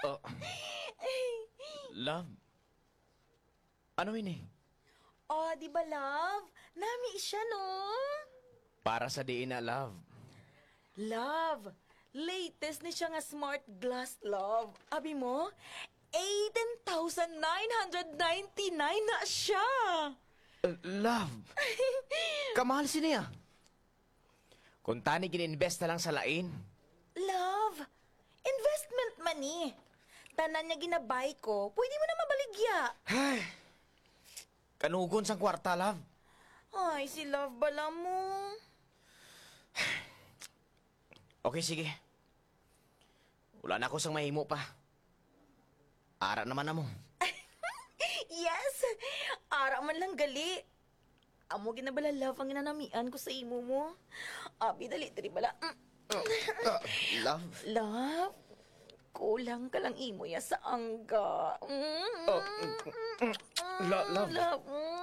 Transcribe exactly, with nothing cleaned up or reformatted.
Oh. Love? Ano ini? Oh, di ba, love? Nami siya, no? Para sa diin na, love? Love, latest ni siya nga smart glass, love. Abi mo, eighteen thousand nine hundred ninety-nine na siya. Uh, love, kamahal sini, ah. Kung tani gin-invest na lang sa lain. Love, investment man ni. Tanan nga ginabay ko, pwede mo na mabaligya. Ay, kanugon sang kwarta, love. Ay, si love bala mo. Okay, sige. Wala na ako sang mahimo pa. Ara naman na mo. Yes! Ara man lang gali. Amo gina bala, love, ang ginanamian ko sa imo mo. Abi, dali, diri bala. Mm. Ah, love. Love, kulang ka lang imo ya sa angga. Mm. Oh, mm, mm. Lo-, love. Love, mm.